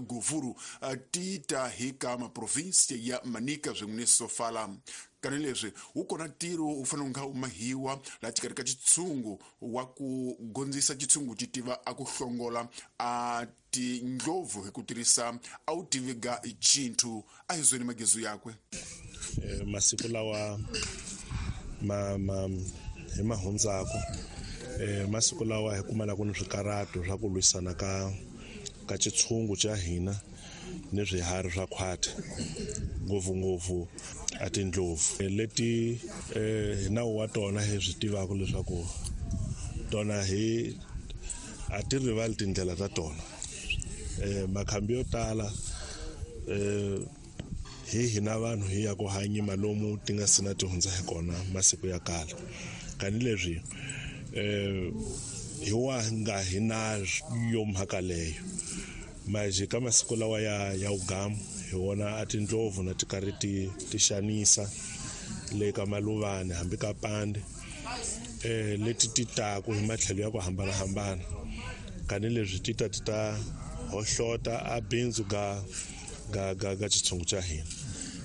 Govuru ti ta hi ka maprovinsi ya Manica swin'we ni Sofala. Tanihileswi wu kona ntirho wu fanele wu nga wu mahiwa laha xikarhi ka xitshungu wa ku gondzisa xitshungu xi tiva a ku hlongola a tindlopfu hi ku tirhisa a wu tivi ga chinthu a hi zweni magezu yakwe. Masiku lawa ma ma hi ma hundzaku masiku lawa hi kumalaka ni swikarhato swa ku lwisana ka ka xitshungu xa hina ni swiharhi swa khwati ngopfungopfu a tindlopfu leti hi nawu wa tona hi swi tivaka leswaku tona hi a ti rivali tindlela ta tona. Makhambi yo tala hi hina vanhu hi ya ku hanyima lomu ti nga sina ti hundza hi kona masiku ya kala tanihileswi hi wa nga hi na yo mhaka leyo manje ka masiku lawa ya ya wugamu hi wona a tindlopfu na ti karhi ti ti xanisa le ka maluvani hambi ka pande leti ti taku hi matlhelo ya ku hambanahambana tanihileswi ti ta ti ta hohlota a bindzu ga ga ga ga xitshungu xa hina.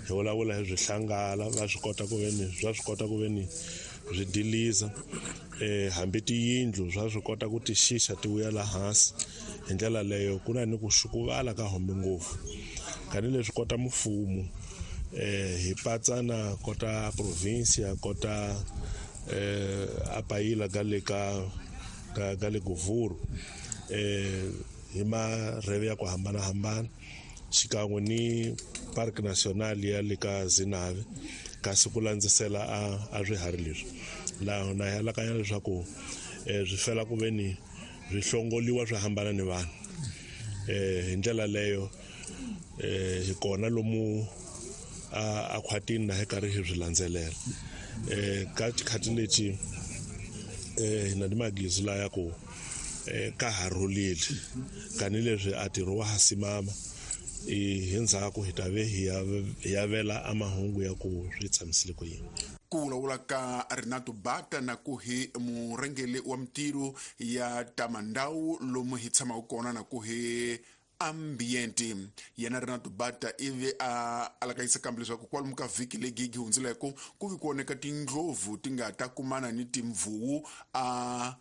Hi vulavula hi swihlangala va swi kota ku veni swa swi kota ku veni swi diliza hambi tiyindlu swa swi kota ku ti xixa ti vuya la hansi. Hi ndlela leyo ku na ni ku xukuvala ka hombe ngopfu tanihileswi kota mfumo hi patsa na kota provincia kota a payila ga le ka ga ga le Govuru hi marheve ya ku hambanahambana xikan'we ni Park National ya le ka Zinave kasi ku landzisela a swiharhi leswi laha na hi alakanya leswaku swi fela ku ve ni swi hlongoliwa swi hambana ni vanhu. Hi ndlela leyo hi kona lomu a khwatini na hi karhi hi swi landzelela. Ka xikhathi lexi hi na ni magizu laya ku ka ha rhulile tanihileswi a ntirho wa ha simama hi ndzhaku hi ta ve hi ya vela a mahungu ya ku swi tshamisile ku yini. Ku vulavula ka Renato Bata na ku hi murhangeri wa mintirho ya ta mandhawu lomu hi tshamaka kona na ku hi ambiente. Yena Renato Bata ivi a alakanyisa kambe leswaku kwalomu ka vhiki leyi yi hundzileko ku vi ku oneka tindlopfu ti nga ta kumana ni timvuwu a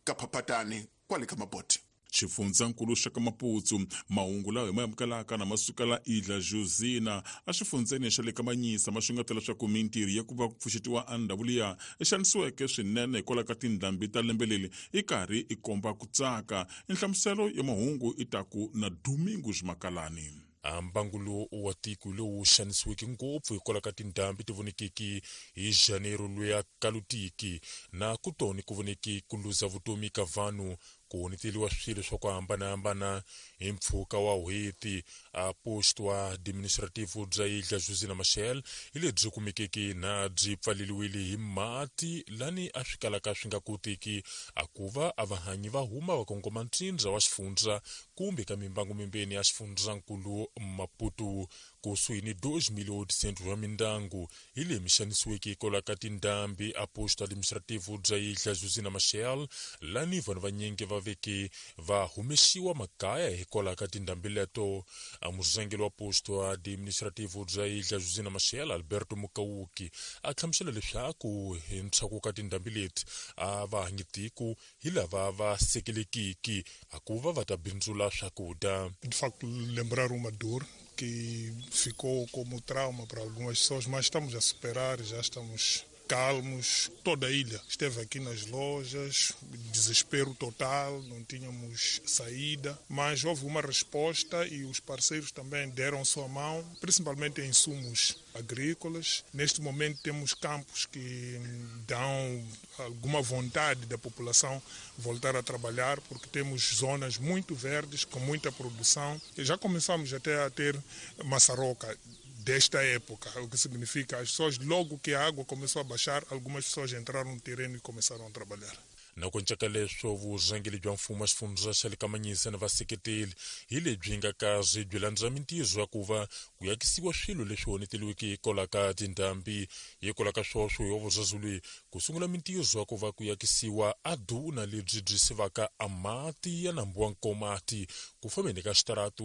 ka phaphatani kwale ka Mabote. Xifundzankulu xa ka Maputo mahungu lawa hi ma amukelaka na ma sukela Idla Josina exifundzeni xa le ka Manyisa ma xungeta leswaku mintirho ya ku va ku pfuxetiwa a ndhawu liya i xanisiweke swinene hikwalaho ka tindhambi ta lembe leri i karhi i komba ku tsaka. Nhlamuselo ya mahungu i ta ku na Domingos Makalani. Mbangu lowu wa tiko lowu xanisiweke ngopfu hikwalaho ka tindhambi ti vonekeke hi Janeiro luya kalutiki na ku toni ku voneke ku luza vutomi ka vanhu ku honeteliwa swilo swa ku hambanahambana hi mpfhuka wa n'hweti. A posto administrativo bya Ilha Josina Machel hi lebyi kumekeke na byi pfaleliwile hi mati lani a swi kalaka swi nga koteki a ku va a vahanyi va huma va kongoma ntsindza wa xifundza kumbe ka mimbangu mimbeni ya xifundzankulu Maputo kusuhi ni 2.800 wa mindyangu hi leyi mi xanisiweke hikwalaho ka tindhambi a posto administrativo bya Ilha Josina Machel lani vanhu vanyingi va veke va humesiwa makaya hikwalaho ka tindhambi leto. A murhangeri wa posto administrativo bya Ilha Josina Machel Alberto Mukauki a hlamusela leswaku hi ntshaku ka tindhambi leti a va hanyi tiko hi lava va sekelekiki a ku va va ta bindzula swakudya. De facto, lembrar uma dor que ficou como trauma para algumas pessoas, mas estamos a superar, já estamos calmos. Toda a ilha esteve aqui nas lojas, desespero total, não tínhamos saída, mas houve uma resposta e os parceiros também deram sua mão, principalmente em insumos agrícolas. Neste momento temos campos que dão alguma vontade da população voltar a trabalhar, porque temos zonas muito verdes, com muita produção. E já começamos até a ter maçaroca desta época, o que significa as pessoas, logo que a água começou a baixar, algumas pessoas entraram no terreno e começaram a trabalhar. Na ku cinca ka leswo, vurhangeri bya mfumo wa xifundza xa le Kamanyisa na vaseketeli hi lebyi nga karhi byi landza mintirho ya ku va ku yakisiwa swilo leswi onheteliweke hikwalaho ka tindhambi. Hikwalaho ka swoswo, hi wa vuraru leyi ku sungula mintirho ya ku va ku yakisiwa a duna lebyi byi sivaka a mati ya nambu wa Nkomati ku fambeni ka xitaratu.